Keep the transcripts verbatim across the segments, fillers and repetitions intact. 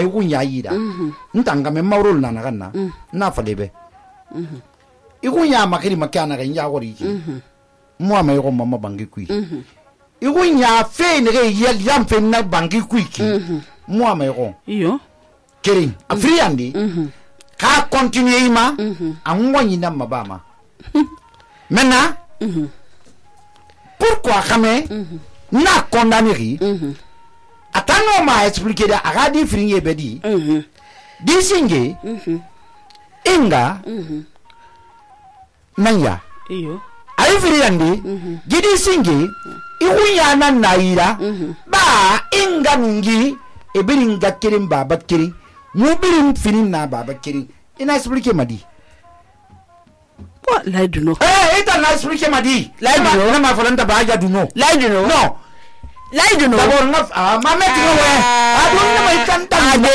ikun ya yida ntanga me mawrol na naganna na falebe ikun ya makiri makana kan ya wori ki mo ma yego mamma bangi kui ikun ya fe ne ge yam fe na bangi kui ki mo ma yego iyo kering afriandi ka continue ima anwo nyina mabama maintenant pourquoi xamé na condamner atano ma expliquer da agadi fringe bedi di singe inga nanya iyo ay friandi gidi singe ihuya nan naira ba inga ngi ebirin gakirin baba kirin mubirin finin na baba kirin ina expliquer madi what la du no eh ita na expliquer madi la du no na ma falanta ba ya du no la du no no la du no d'abord na ah ma metti no we adu na mai tanta ade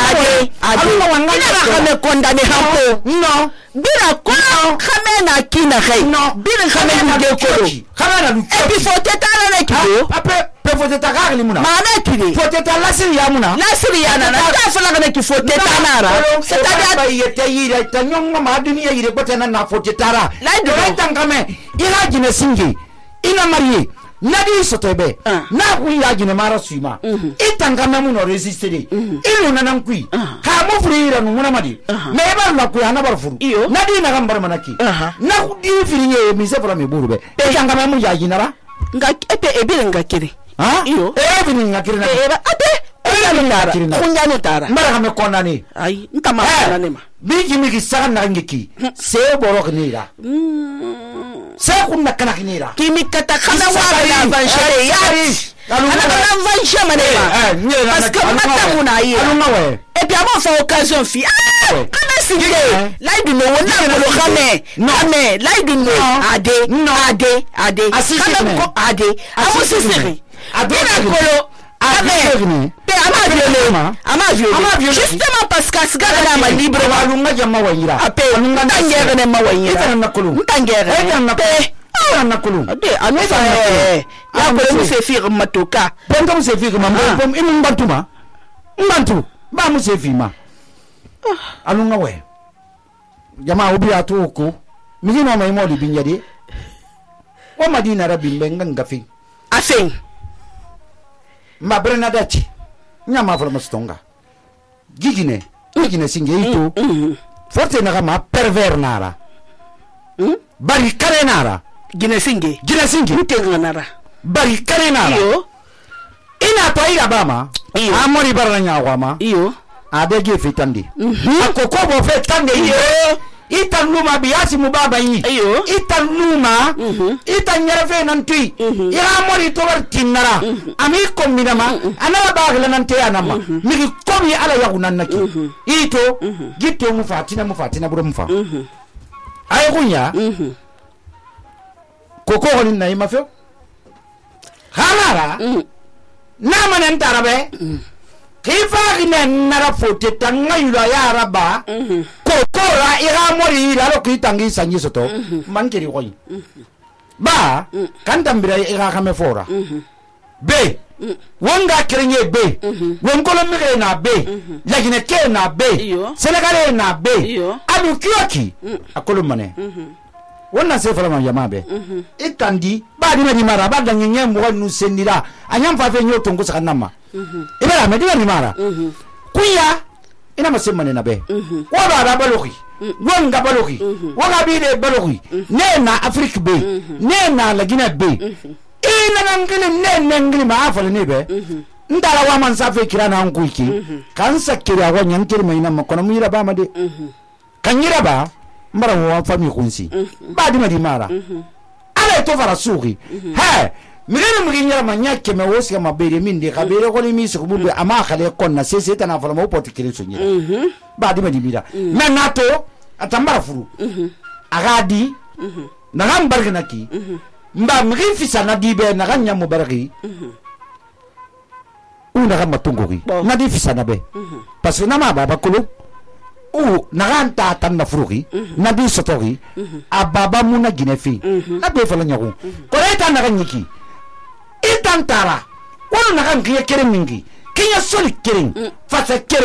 ade ade ina ba kame condamné hampo no bira ko kame na kina khay no bira kame na de ko kame na lu et puis faut t'étaler na kido après pe faut t'étaler limuna ma na kidi faut t'étaler la siri ya muna la siri ya na ta fala na ki faut t'étaler c'est-à-dire ba yete yira ta nyonga ma duniya yire ko tana na faut t'étara la do tangame ila jine singi ina marié nadi sotobe na ku ya jine mara suima itangame mu no résister ilu nanan kui ka mu frira no muna madi me ba la ku ana bar furu nadi na gambar manaki na ku di firiye mi se fara me burube itangame mu ya jinara nga epe ebire nga kire ha iyo e bini nga kire na e ba ade kunyana kunyana tara mara kame kondani ai ntama kondani ma biji mi ki saga na ngiki se borok nira se kunna kana kinira kimi kata kana wa la vanchele ya ana kana vanche manema parce que mata muna yi et puis avant fa occasion fi ah kana sike la du no wona ko kame kame la du no ade ade ade kana ko ade amu sisiri abina kolo ame pe ama violé ama violé justement parce que asgara na ma libre walunga jama wayira ape ngere ne ma wayira ita na kulu ngere ita na pe ita na kulu abe anu fa ya ko mu se fir matoka bonga mu se fir ma bom inu mbantuma mbantu ba mu se fima alunga we jama obi atuko migino mai moli binyade wa madina rabbi benga ngafi asen ma brenadati nyama fala mastonga gigine gigine singe ito forte na ma pervers nara bari kare nara gine singe gine singe utenga nara bari kare nara iyo ina to ira bama amori baranya wama iyo adege fitandi akoko bo fitandi iyo itan luma biasi mubaba yi iyo itan luma itan nyarafe nanti ya mori to war tinara ami kombina ma ana bagla nante anama migi komi ala yagunan naki ito gitto mu fatina mu fatina buru mu fa ay kunya koko honin nay ma fe hanara na manen tarabe kifa gine nara fote tanga yula ya raba kokora ira mori la lo kitangi sanyi soto mankeri koyi ba kan tambira ira kame fora be wonga kerenye be wonkolo mire na be lagine ke na be senegale na be adu kiyoki akolo mane wonna se fala ma yamabe itandi ba dina di mara ba danyenye mo nu sendira anyam fa fe nyoto ngo sakanama ibara medina ni mara kuya ina masemane na be wa ba ba baloki wonga baloki wonga bi de baloki ne na afrique be ne na lagina be ina nangini ne nangini ma afale ne be ndala wa man sa fe kirana an kuiki kan sakira wa nyankiri mai na makono mira ba ma de kan yira ba mbara wa fami kunsi ba di mari mara ala to fara suki he migene muginya manya keme wosi kama bere minde kabere ko ni misi ko bube ama khale konna sese tana fala mo poti kire sunyira ba di mari mira menato atambara furu agadi na gambarga naki mba migi fisa na dibe na ganya mubaraki una gama tungoki na di fisa na be parce que na ma baba kulu u naganta tan na furuki na di sotori ababa muna ginefi na be fala nyaku ko eta na ganyiki itantara wono nagan kiye kere mingi kinya soli kering fasa kering